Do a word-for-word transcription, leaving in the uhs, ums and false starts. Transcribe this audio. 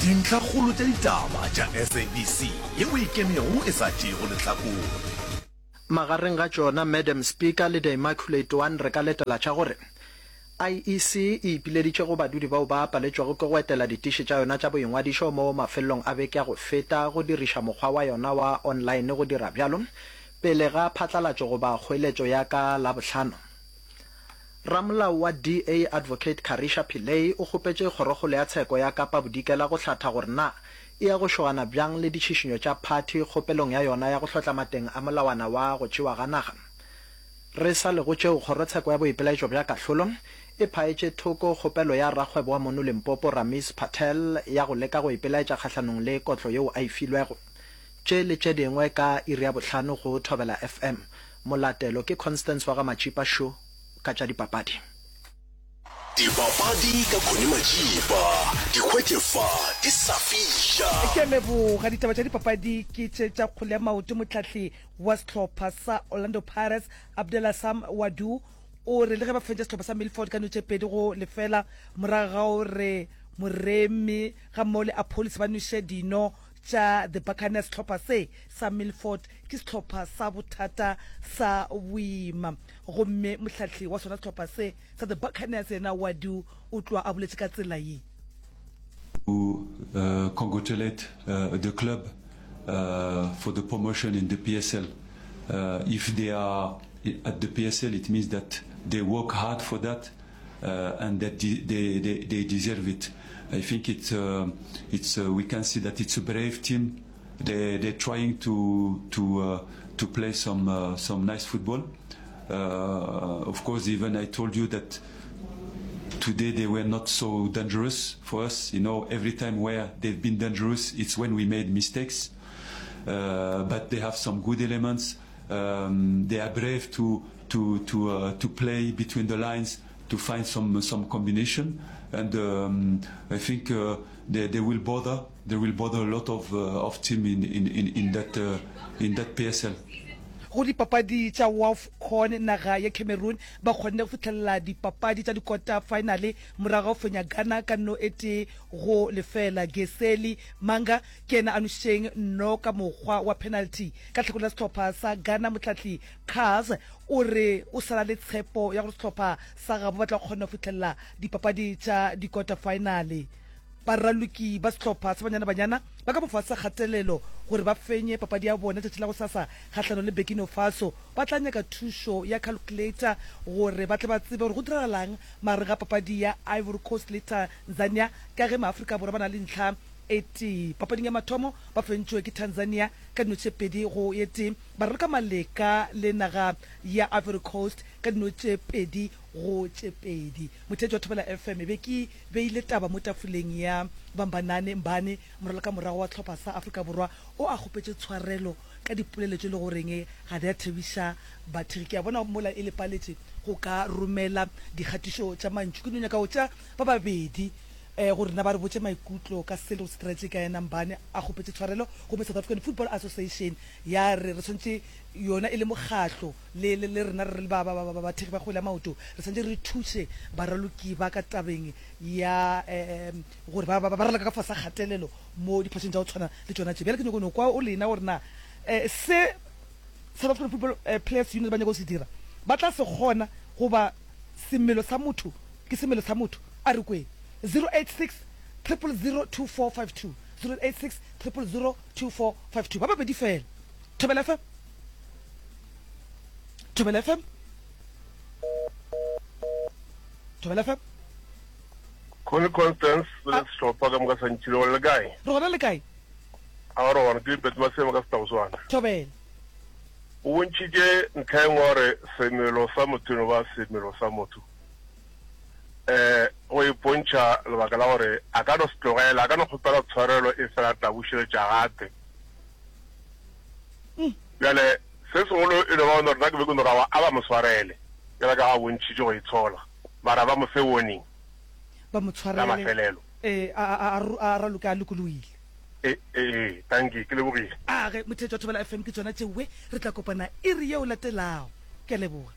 Dintlhakgolo tša ditaba tša S A B C yeo e ikemego e sa tšeego lehlakore. Magareng ga tšona Madam Speaker le The Immaculate One re ka letela tša gore I E C e ipileditše go badudi bao ba paletšwego ke go etela ditiši tša yona tša boingwadišo mo mafelelong a beke ya go feta go diriša mokgwa wa yona wa online go dira bjalo pele ga phatlalatšo goba kgoeletšo ya ka Labohlano. Ramolao wa D A Advocate Karrisha Pillay o kgopetše Kgorokgolo ya Tsheko ya Kapa Bodikela go hlatha gore na e ya go šogana bjang le ditšhišinyo tša phathi kgopelong ya yona ya go hlotla mateng a molawana wa go tšewa ga naga. Re sa le go tšeo, Kgorotsheko ya Boipelaetšo bja Kahlolo e phaetše thoko kgopelo ya rakgwebo wa mono Limpopo Rameez Patel ya go leka go ipelaetša kgahlanong le kotlo yeo a e filwego. Tše le tše dingwe ka iri ya bohlano go Thobela F M. Molatelo ke Constance wa ga Matšipa Sho ka tša dipapadi. Dipapadi ka Connie Matšipa, di hwetše fa di sa fiša. Ke a leboga. Ditaba tša dipapadi ke tše tša kgwele ya maoto. Mohlahli wa sehlopha sa Orlando Pirates, Abdella Sam Ouaddou, o re le ge ba fentše sehlopha sa Milford ka no tše pedi go lefela morago ga gore Moremi ga mmogo le Appollis ba nweše dino tša The Buccaneers, sehlopha se sa Milford ke sehlopha sa bothata sa boima, gomme mohlahli wa sona sehlopha se sa The Buccaneers yena Ouaddou o tloa a boletše ka tsela ye. To uh, congratulate uh, the club uh, for the promotion in the P S L. Uh, if they are at the P S L, it means that they work hard for that uh, and that they, they, they, they deserve it. I think it's, uh, it's, uh, we can see that it's a brave team. They, they're trying to, to, uh, to play some, uh, some nice football. Uh, of course, even I told you that today they were not so dangerous for us. You know, every time where they've been dangerous, it's when we made mistakes. Uh, but they have some good elements. Um, they are brave to to to uh, to play between the lines to find some some combination, and um, I think uh, they, they will bother they will bother a lot of uh, of team in in in, in that uh, in that P S L. Go dipapadi tša WAFCON, naga ya Cameroon ba kgonne go fihlelela dipapadi tša dikota finale morago ga go fenya Ghana ka no e tee go lefela. Geseli Manga ke yena a nwešitšeng no ka mokgwa wa penalty. Ka tlhakore la sehlopha sa Ghana, mohlahli Cars o re o sala le tshepo ya gore sehlopha sa gabo ba tla kgona go fihlelela dipapadi tša dikota finale. Baraloki ba sehlopha sa Banyana Banyana ba ka mofase sa kgatelelo gore ba fenye papadi ya bona tšatši la go sasa kgahlanong le Burkina Faso. Ba tla nyaka thušo ya calculator gore ba tle ba tsebe gore go diragalang magareng ga papadi ya Ivory Coast le Tanzania, ka ge maAfrika Borwa ba na le ntlha e tee. Papading ya mathomo ba fentšwe ke Tanzania ka dino tše pedi go e tee, ba raloka maleka le naga ya Ivory Coast ka dino tše pedi go tše pedi. Motheetši wa Thobela F M, e be ke beile taba mo tafoleng ya Bambanani Mbane, moraloka morago wa tlhopha sa Afrika Borwa, o a kgopetše tshwarelo ka dipolelo tše le goreng ga di a thabiša bathegi. Ke a bona mola e lepaletše go ka romela dikgatišo tša mantšu. Ke no nyaka go tša ba babedi um gore na ba re botše maikutlo ka se le go se diretše ka yena Mbane a kgopetše tshwarelo, gomme South African Football Association ya re re tshwanetse yona e le mokgahlo le le le rena re le ba ba ba bathegi ba kgwele ya maoto re tshwanetse re thuše baraloki ba ka tabeng ya um gore ba ba ba raloka ka fase ga kgatelelo mo diphošong tša go tshwana le tšona tše. Bjale ke nyako no kwa o lena gore na um se South African Football uh, Players Union ba nyaka go se dira ba tla se kgona, goba semelo sa motho ke semelo sa motho. A re kweng zero eight six triple zero two four five two, zero eight six triple zero two four five two. Ba babedi fela. Thobela F M, Thobela F M, Thobela F M. Connie Constance le sehlopha ka moka sa ntšhile gore le kae? Re gona, le kae? A re gona, ke Bet Masema ka Setaoswana. Thobela. O bontšhitše ntlha e nngwe gore semelo sa motho e no ba semelo sa motho. Um go ipontšha lebaka la gore a ka no se tlogela, a ka no kgopela tshwarelo e fela tla bušeletša gape. Bjale se segolo e no ba gore nna ke be ke no ra a ba mo swarele bjale ka ga bontšhitše go itshola, mara ba mo fe warning ba mo la tshwarele mafelelo. Ee, a a a a raloke a lokologile. E ee, dankie, ke lebogile. A ge motheetši wa Thobela F M, ke tšona tšeoe re tla kopana iri yeo latelago. Ke a leboga.